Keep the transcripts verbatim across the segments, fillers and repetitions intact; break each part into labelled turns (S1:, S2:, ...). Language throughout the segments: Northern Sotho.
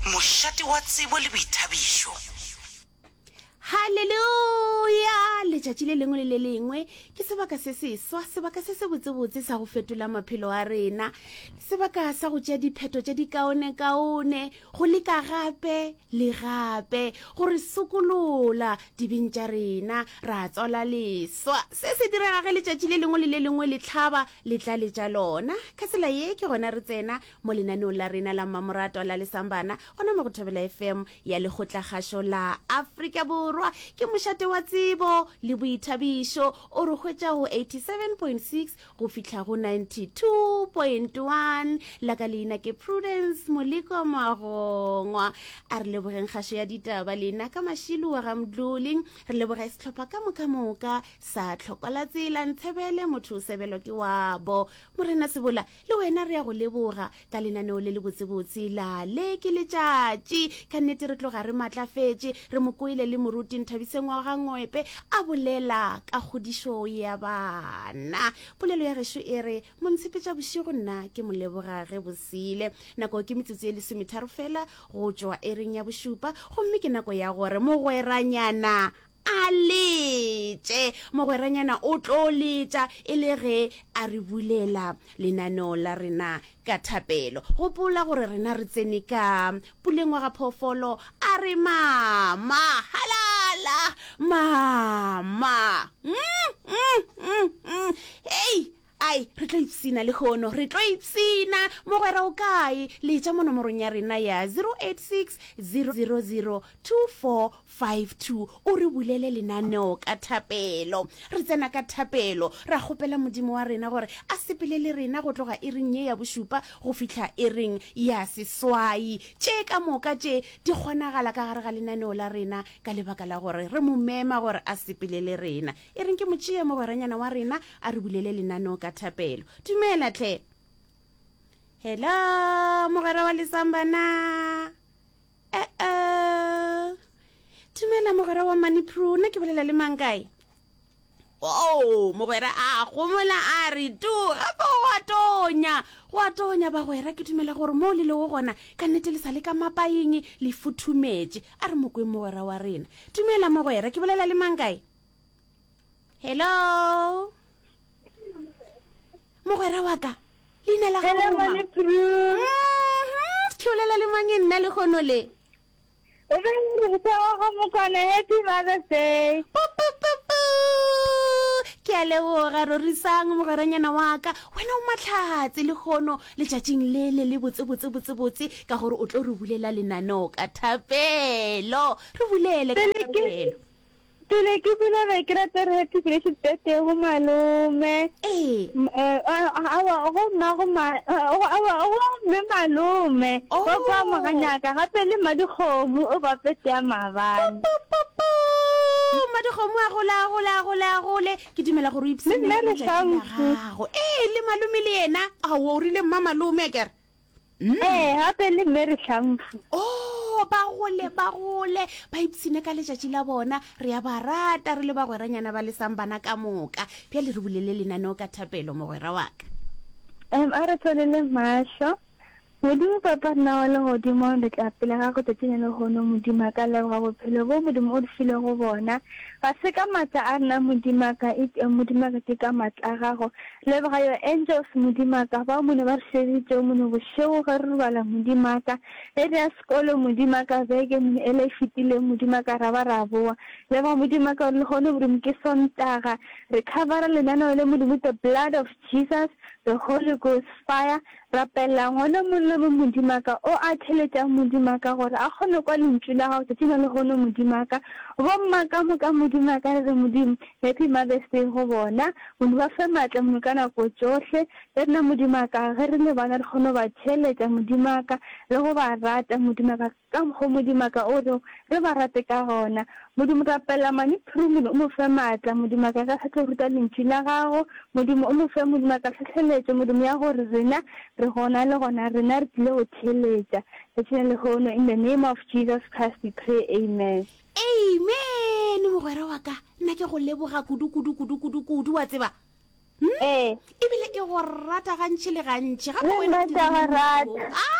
S1: Mošate wa tsebo le boithabišo.
S2: Haleluya! Letšatši le lengwe le le lengwe ke sebaka se seswa, sebaka se sebotsebotse sa go fetola maphelo a rena, sebaka sa go tšea diphetho tše dikaonekaone, go leka gape le gape go re sokolola dibeng tša rena, ra tswala leswa. Se se direga ge letšatši le lengwe le le lengwe le hlaba le tla letša lona. Ka tsela ye ke gona re tsena mo lenaneong la rena la mmamoratwa la Lesambana, gona mo go Thobela F M ya Lekgotlakgašo la Afrika Borwa. Ke mošate wa tsebo le boithabišo, o re hwetša go eighty-seven point six go fihla go ninety-two point one. La ka leina ke Prudence Moleko Magongwa. A re lebogeng kgašo ya ditaba lena ka Mašilu wa ga Mdluli. Re leboge sehlopha ka moka moka sa Tlhokola Tsela, Ntshebele, motho o sebelwa ke wabo. Morena Sebola, le wena re ya go leboga ka lenaneo le le botsebotse la Le ke Letšatši. Ka nnete re tloga re matlafetše, re mo kwele le moruti Nthabiseng wa ga Ngwepe a bolela ka kgodišo ya bana. Polelo ya gešo e re, Montshepetša bošego nna ke mo leboga ge bosile. Nako ke metsotso e lesometharo fela go tšwa ering ya bošupa, gomme ke nako ya gore mogweranyana a letše. Mogweranyana o tlo letša e le ge a re bulela lenaneo la rena ka thapelo. Gopola gore rena re tsene ka puleng wa ga phoofolo, a re mama, halala, mama. Mm, mm, mm, mm. Hei, ai, re tlo ipsina lehono, re tlo ipsina. Mogwera o kae? Letša mo nomorong ya rena ya zero eight six, zero zero zero, two four five two, o re bulele lenaneo ka thapelo. Re tsena ka thapelo, ra kgopela Modimo wa rena gore a sepele le rena go tloga iring ye ya bošupa go fihla iring ya seswai. Tše ka moka tše di kgonagala ka gare ga lenaneo la rena ka lebaka la gore re mo mema gore a sepele le rena. E reng ke mo tšee mogweranyana wa rena a re bulele lenaneo ka thapelo. Dumela tle. Hello, mogwera wa Lesambana. Eh, eh. Dumela mogwera wa Manipro, nna ke bolela le mang kae? Oh, mogwera a gomola a re tu, gape go a tonya, go a tonya bagwera. Ke dumela gore mo le lego gona ka nnete le sa le ka mapaeng le futhumetše. A re mokweng mogwera wa rena. Dumela mogwera, ke bolela le mang kae? Hello. Mogwera wa ka, leina la gago
S3: Hello,
S2: mang?
S3: Manipro.
S2: Mhm, ke bolela le mang nna lehono le?
S3: O be o re wa ga Mokwana, happy Mother's Day.
S2: Pu, pu, pu, pu. Ke a leboga, rorisang mogweranyana wa ka. Wena o mahlatse lehono letšatšing le le le botse, botse, botse, botse, ka gore o tlo re bulela lenaneo ka thapelo. Re bulele ka
S3: Pele ke
S2: thapelo.
S3: Pele ke bula be ke rata re happy blessed birthday go malome.
S2: Ee.
S3: M-, eh, a-, aowa, go mma, go ma-, go, aowa, go mme malome.
S2: Oh.
S3: Go kwa moganyaka, gape le mmadikgomo o ba pete ya maabane.
S2: Pu, pu, pu, pu. Mmadikgomo a gole, a gole, a gole, a gole. Ke dumela gore o ipshine
S3: Le nna
S2: ka letšatši la
S3: Lehlamfu.
S2: gago. Ee, le malome le yena. Aowa, o rile mma malome, a kere? Mm.
S3: Ee, gape le mme Lehlamfu.
S2: Oh, ba gole, ba gole, ba ipshine ka letšatši la bona. Re a ba rata, re le bagweranyana ba lesang bana ka moka. Bjale re bulele lenaneo ka thapelo, mogwera wa ka.
S3: Em, a re tswalele mahlo. Modimo Papa rena wa legodimo, re tla pele ga go tšatšing le lehono. Modimo a ka leboga bophelo bo Modimo o re filego bona. Ga se ka maatla a rena, Modimo a ka, eupša Modimo a ka ke ka maatla a gago. Leboga your angels, Modimo a ka, bao mone ba re šeditšego mone bošego ge re robala, Modimo a ka. Ge re ya sekolo, Modimo a ka, beke mone ela e fetileng, Modimo a ka, ra ba ra boa. Leboga Modimo a ka gore lehono Modimo ke Sontaga. Re covera lenaneo le Modimo with the blood of Jesus, the Holy Ghost fire. Rapela ngwana mongwe le mongwe, Modimo wa ka, o a theletšang, Modimo wa ka, gore a kgone kwa lentšu la gago tšatšing la lehono, Modimo wa ka. Bomma ka moka, Modimo wa ka, re re, Modimo, Happy Mother's Day go bona. Modimo, ba fe maatla, Modimo, ka nako tšohle. Le rena, Modimo wa ka, ge re le bana, re kgone go ba theeletša, Modimo wa ka, le go ba rata, Modimo wa ka, ka mokgwa Modimo wa ka o re re ba rate ka gona. Modimo, rapela Mane Phiri, Modimo, o mo fe maatla, Modimo wa ka, ge a sa tlo ruta lentšu la gago. Modimo, o mo fe, Modimo wa ka, tlhohleletšo, Modimo, ya gore rena re gona le gona rena re tlile go theeletša. Letšatši la lehono, in the name of Jesus Christ we pray, amen.
S2: Amen, mogwera wa ka, nna ke go leboga kudu, kudu, kudu, kudu, kudu, wa tseba. Hmm?
S3: Ee.
S2: Ebile ke go rata gantši le gantši. Gape
S3: Le
S2: wena
S3: nna ke a go rata.
S2: Ah!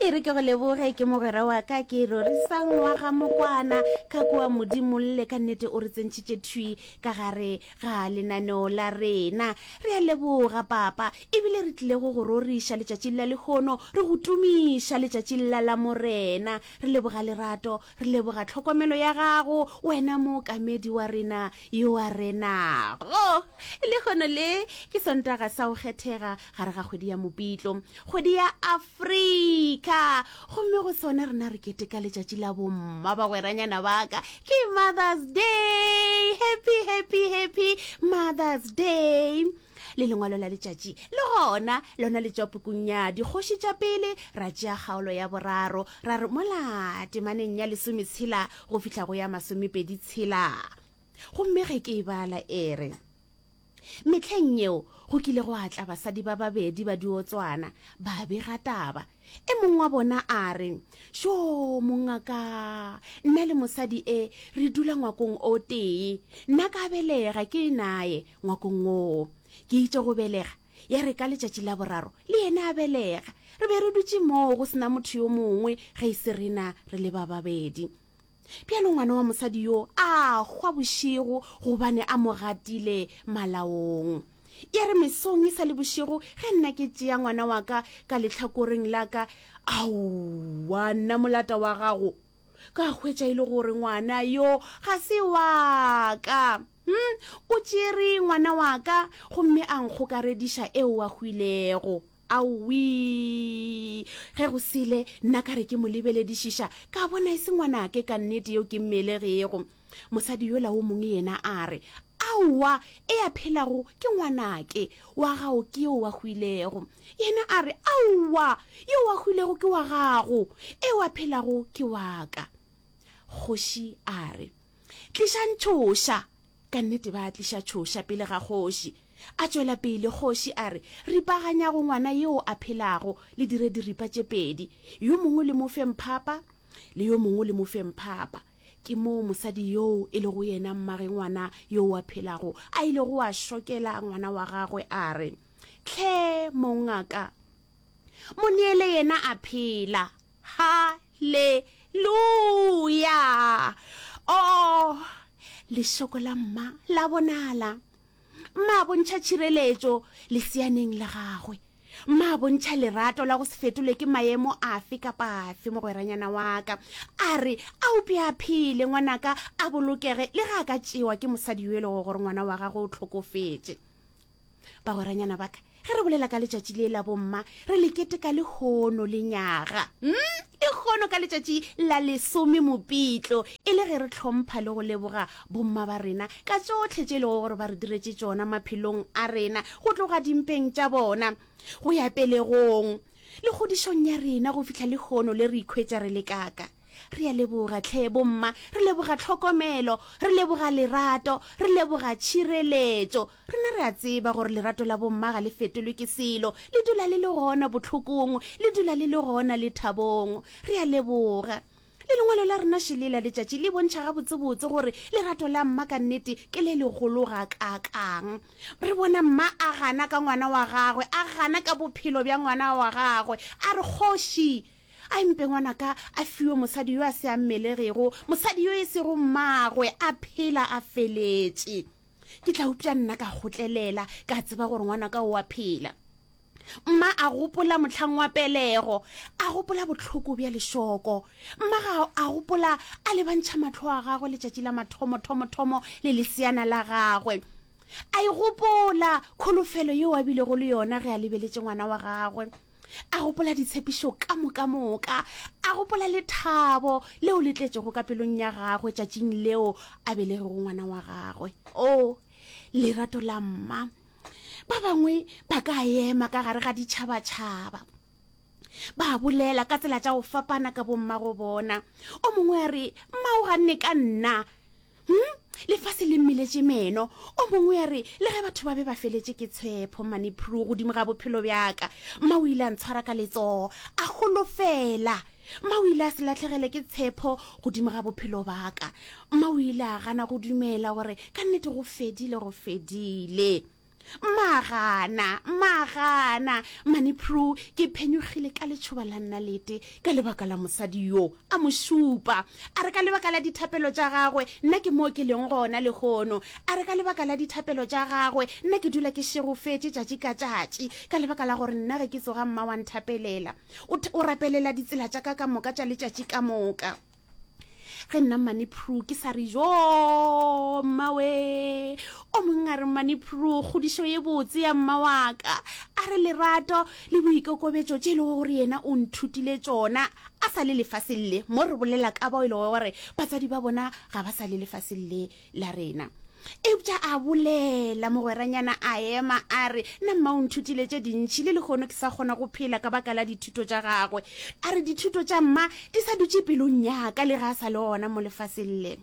S2: E re ke go leboge, ke mogwera wa ka ke Rorisang wa ga Mokwana ka kua Modimolle. Ka nnete o re tsentšhitše thwi ka gare ga lenaneo la rena. Re a leboga papa, ebile re tlile go go roriša letšatšing la lehono, re go tumiša letšatšing la la Morena. Re leboga lerato, re leboga tlhokomelo ya gago, wena mookamedi wa rena yo a renago. Lehono le ke Sontaga sa go kgethega gare ga kgwedi ya Mopitlo, kgwedi ya Afrika, gomme go sona rena re keteka letšatši la bomma, bagweranyana ba ka. Ke Mother's Day! Happy, happy, happy Mother's Day! Le lengwalo la letšatši le gona lona le tšwa pukung ya Dikgoši tša Pele, ra tšea kgaolo ya boraro, ra re mola temaneng ya lesometshela go fihla go ya masomepedi tshela. Gomme ge ke e bala e re, Mehleng yeo go kile gwa tla basadi ba babedi ba diotswana, ba bega taba. E mongwe wa bona a re, Šo, mongaka, nna le mosadi e re dula ngwakong o tee. Nna ka belega ke naye ngwakong woo. Ke itše go belega, ya re ka letšatši la boraro le yena a belega. Re be re dutše moo go se na motho yo mongwe ge e se rena re le ba babedi. Bjalo ngwana wa mosadi yo a hwa bošego gobane a mo gatile malaong. Ya re mesong e sa le bošego ge nna ke tšea ngwana wa ka ka lehlakoreng la ka, aowa, nna molata wa gago, ka hwetša e le gore ngwana yo ga se wa ka. Hm, o tšere ngwana wa ka gomme a nkgokarediša eo a hwilego. Aowii! Ge go sele, nna ka re ke mo lebeledišiša, ka bona e se ngwanake ka nnete yo ke mmelegego. Mosadi yola wo mongwe yena a re, Aowa, e a phelago ke ngwanake, wa gago ke yo a hwilego. Yena a re, Aowa, yo a hwilego ke wa gago, eo a phelago ke wa ka. Kgoši a re, Tlišang tšhoša! Ka nnete ba tliša tšhoša pele ga kgoši. A tšwela pele kgoši a re, Ripaganyago ngwana yo a phelago, le dire diripa tše pedi, yo mongwe le mo fe mphapa, le yo mongwe le mo fe mphapa. Ke moo mosadi yoo e lego yena mmage ngwana yo a phelago a ilego a šokela ngwana wa gagwe a re, Hle mongaka, mo neele yena a phela. Haleluya! Oh, lešoko la mma la bonala. Mma a bontšha tšhireletšo leseaneng la gagwe. Mma a bontšha lerato la go se fetolwe ke maemo afe kapa afe, mogweranyana wa ka. A re, A upše a phele, ngwanaka a bolokege, le ge a ka tšewa ke mosadi yo e lego gore ngwana wa gagwe o hlokofetše. Bagweranyana ba ka, ge re bolela ka letšatši le la bomma, re le keteka lehono lenyaga. Hmm? Lehono ka letšatši la lesome Mopitlo, e le ge re hlompha le go leboga bomma ba rena ka tšohle tše e lego gore ba re diretše tšona maphelong a rena, go tloga dimpeng tša bona go ya pelegong le kgodišong ya rena go fihla lehono le re ikhwetša re le kaka. Re a leboga hle bomma, re leboga tlhokomelo, re leboga lerato, re leboga tšhireletšo. Rena re a tseba gore lerato la bomma ga le fetolwe ke selo, le dula le le gona bohlokong, le dula le le gona lethabong. Re a leboga. Le lengwalo la rena šele la letšatši le bontšha gabotsebotse gore lerato la mma ka nnete ke le legolo gakaakang. Re bona mma a gana ka ngwana wa gagwe, a gana ka bophelo bja ngwana wa gagwe, a re, Kgoši, A mpe ngwanaka a fiwe mosadi yo a se a mmelegego, mosadi yo e sego mmagwe, a phela a feletše. Ke tla upša nna ka kgotlelela, ka tseba gore ngwanaka o a phela. Mma a gopola mohlang wa pelego, a gopola bohloko bja lešoko. Mma ga a gopola a lebantšha mahlo a gagwe letšatši la mathomo-thomo-thomo le leseana la gagwe. A e gopola kholofelo yeo a bilego le yona ge a lebeletše ngwana wa gagwe. A gopola ditshepišo ka moka moka, a gopola lethabo leo le tletšego ka pelong ya gagwe tšatšing leo a belegego ngwana wa gagwe. O, lerato la mma! Ba bangwe ba ka ema ka gare ga ditšhabatšhaba, ba bolela ka tsela tša go fapana ka bommago bona. O mongwe a re, Mma o ganne ka nna. Hm? Lefase le mmeletše meno. O mongwe a re, Le ge batho ba be ba feletše ke tshepo, Mmane Prue, godimo ga bophelo bja ka, mma o ile a ntshwara ka letsogo, a holofela. Mma o ile a se lahlegele ke tshepo godimo ga bophelo ba ka. Mma o ile a gana go dumela gore ka nnete go fedile, go fedile. Mmagana, mmagana, Mmane Prue, ke phenyogile ka letšhoba la nnalete ka lebaka la mosadi yo. A mo šupa. A re ka lebaka la dithapelo tša gagwe, nna ke moo ke leng gona lehono. A re ka lebaka la dithapelo tša gagwe, nna ke dula ke šegofetše tšatši ka tšatši, ka lebaka la gore nna ge ke tsoga mma wa nthapelela. O, o rapelela ditsela tša ka ka moka tša letšatši ka moka. Ge nna Mmane Prue ke sa re joo mmawe, o mongwe a re Mmane Prue kgodišo ye botse ya mma wa ka, a re lerato le boikokobetšo tše e lego gore yena o nthutile tšona a sa le lefaseng le, mo re bolela ka bao e lego gore batswadi ba bona ga ba sa le lefaseng le la rena. Eupša a bolela, mogweranyana a ema a re, Nna mma o nthutile tše dintši, le lehono ke sa kgona go phela ka baka la dithuto tša gagwe. A re, Dithuto tša mma di sa dutše pelong ya ka le ge a sa le gona mo lefaseng le.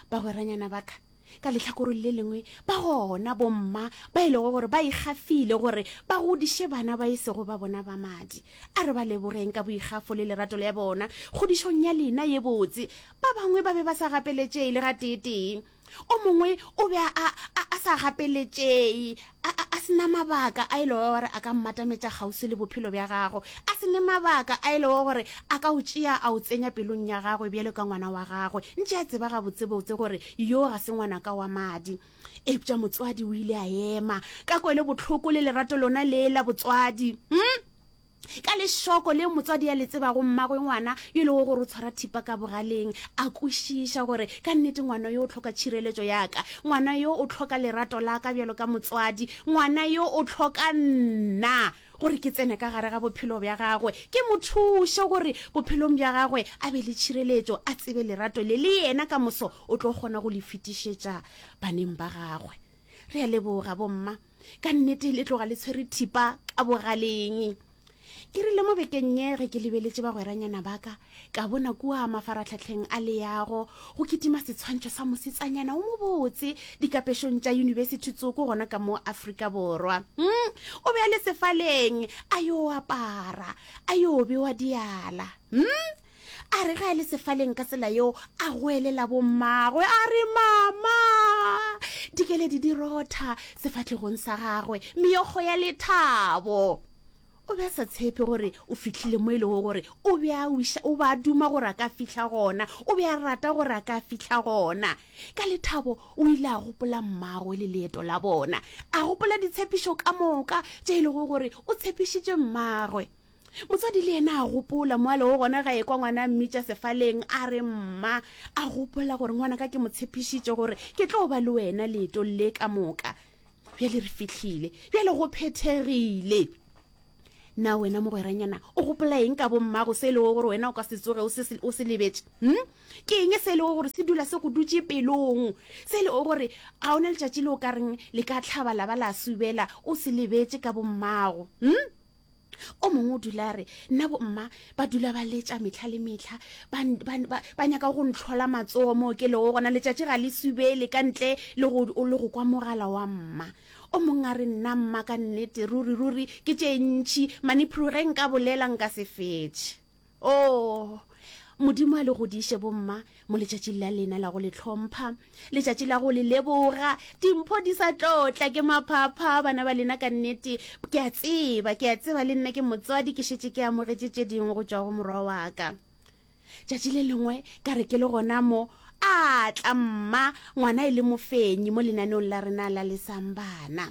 S2: Bagweranyana ba ka, ka lehlakoreng le lengwe ba gona bomma ba e lego gore ba ikgafile gore ba godiše bana ba e sego ba bona ba madi. A re ba lebogeng ka boikgafo le lerato la bona kgodišong ya lena ye botse. Ba bangwe ba be ba sa gapeletšee le gateetee. O mongwe o be a, a, a sa gapeletšee, a, a, a se na mabaka a e lego gore a ka mmatametša kgauswi le bophelo bja gago, a se ne mabaka a e lego gore a ka o tšea a o tsenya pelong ya gagwe bjalo ka ngwana wa gagwe, ntše a tseba gabotsebotse gore yo ga se ngwanaka wa madi. Eupša motswadi o ile a ema ka kwelobohloko le lerato lona le la botswadi. Hmm? Ka lešoko leo motswadi a le tsebago mmagwe ngwana yo e lego gore o tshwara thipa ka bogaleng, a kwešiša gore ka nnete ngwana yo o hloka tšhireletšo ya ka, ngwana yo o hloka lerato la ka bjalo ka motswadi, ngwana yo o hloka nna gore ke tsene ka gare ga bophelo bja gagwe, ke mo thuše gore bophelong bja gagwe a be le tšhireletšo, a tsebe lerato le le yena ka moso o tlo kgona go le fetišetša baneng ba gagwe. Re a leboga bomma. Ka nnete le tloga le tshwere thipa ka bogaleng. Ke rile mo bekeng ye ge ke lebeletše bagweranyana ba ka, ka bona kua mafaratlhahleng a leago go kitima setshwantšho sa mosetsanyana o mobotse dikapešong tša yunibesithi tsoko gona ka mo Afrika Borwa. Hmm, o be a le sefaleng a yo apara, a yo bewa diala. Hmm, A re ge a le sefaleng ka tsela yeo, a goelela bommagwe a re, Mama! Dikeledi di rotha sefahlegong sa gagwe, meokgo ya lethabo. O be a sa tshepe gore o fihlile mo e lego gore o be a wiša, o be a duma gore a ka fihla gona, o be a rata gore a ka fihla gona. Ka lethabo o ile a gopola mmagwe le leeto la bona, a gopola ditshepišo ka moka tše e lego gore o tshepišitše mmagwe. Motswadi le yena a gopola mo a lego gona ge a ekwa ngwana a mmitša sefaleng a re mma. A gopola gore ngwanaka ke mo tshepišitše gore ke tlo ba le wena leetong le ka moka. Bjale re fihlile, bjale go phethegile. Na wena mogweranyana o gopola eng ka bommago se e lego gore wena o ka se tsoge o se, o se lebetše? Hm? Ke eng se e lego gore se dula se go dutše pelong? Se e lego gore ga o na letšatši le o ka reng le ka hlaba la ba la subela o se lebetše ka bommago? Hm? O mongwe o dula a re, Nna bomma ba dula ba letša mehla le mehla, ba, ba, ba, ba nyaka go ntlhola matsogo moo ke lego gona. Letšatši ga le subele ka ntle le go, le go kwa mogala wa mma. O mongwe a re, Nna mma ka nnete, ruri, ruri ke tše ntši, Manipru ge nka bolela nka se fetše. Oo, Modimo a le godiše, bomma, mo letšatšing la lena la go le hlompha, letšatši la go le leboga. Dimpho di sa tlo tla ke maphapha, bana ba lena, ka nnete. Ke a tseba, ke a tseba, le nna ke motswadi, ke šetše ke amogetše tše dingwe go tšwa go morwa wa ka. Tšatši le lengwe ka re ke le gona mo, a tla mma, ngwana e le mofenyi mo lenaneong la rena la Lesang Bana.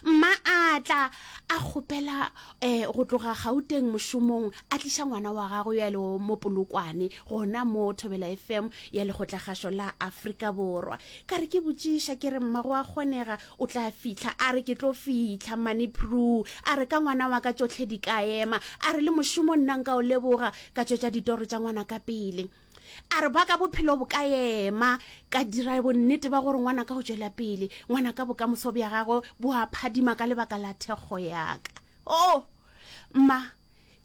S2: Mma a tla a kgopela um go tloga Gauteng mošomong a tliša ngwana wa gagwe yo a lego mo Polokwane gona mo Thobela F M ya Lekgotlakgašo la Afrika Borwa. Ka re ke botšiša ke re mma go a kgonega o tla fihla? A re ke tlo fihla Mmane Prue. A re ka ngwana wa ka tšohle di ka ema. A re le mošomo nna nka o leboga ka tšwetša ditoro tša ngwana ka pele. A re ba ka bophelo bo ka ema, ka dira bonnete ba gore ngwanaka o tšwela pele, ngwanaka bokamoso bja gagwe bo a phadima ka lebaka la thekgo ya ka. Oh, mma,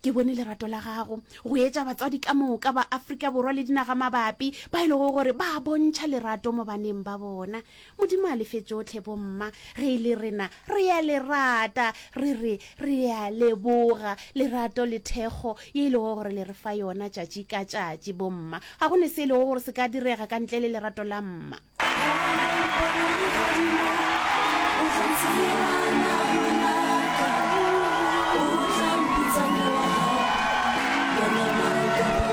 S2: ke bone lerato la gago go etša batswadi ka moka ba Afrika Borwa le dinagamabapi ba e lego gore ba bontšha lerato mo baneng ba bona. Modimo a le fe tšohle, bomma. Ge e le rena, re a le rata. Re re, re a leboga lerato le thekgo ye e lego gore le re fa yona tšatši ka tšatši, bomma. Ga go ne se e lego gore se ka direga ka ntle le lerato la mma. tseba.